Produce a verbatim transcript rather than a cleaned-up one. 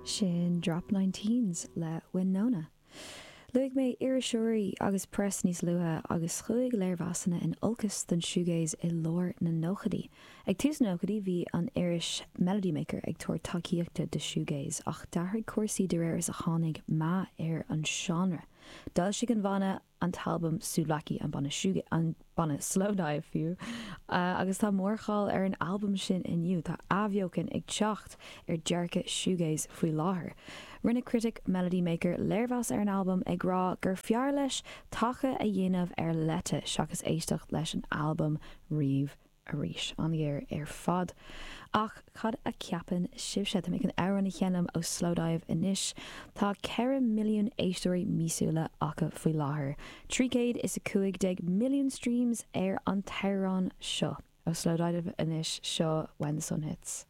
Sin Drop Nineteens le Winona. Luaigh mé iriseoirí agus press níos luaithe agus chuaigh léirmheasanna in olcas don shoegaze i lár na nóchaidí. Ag tús na nóchaidí bhí an iris Melody Maker ag tabhairt tacaíochta do shoegaze ach d'athraigh cúrsaí de réir is a tháinig meath ar an seánra. D'fhoilsigh an banna an t-albam Souvlaki an banna an banna Slowdive fiú uh, agus tá mórcháil ar an albam sin inniu tá athbheochan ag teacht ar dearcadh shoegaze faoi láthair. Rinne critic Melody Maker léirmheas ar an albam ag rá gur fearr leis taca a dhéanamh ar leite seachas éisteacht leis an albam riamh arís an-ghéar ar fad. Ach cad a cheapann sibhse tá mé chun amhrán a sheinm ó Slowdive anois tá ceithre milliún éisteoirí míosúla acu faoi láthair. Trí chéad is a cúig déag milliún streams ar an t-amhrán seo ó Slowdive anois seo when the sun hits.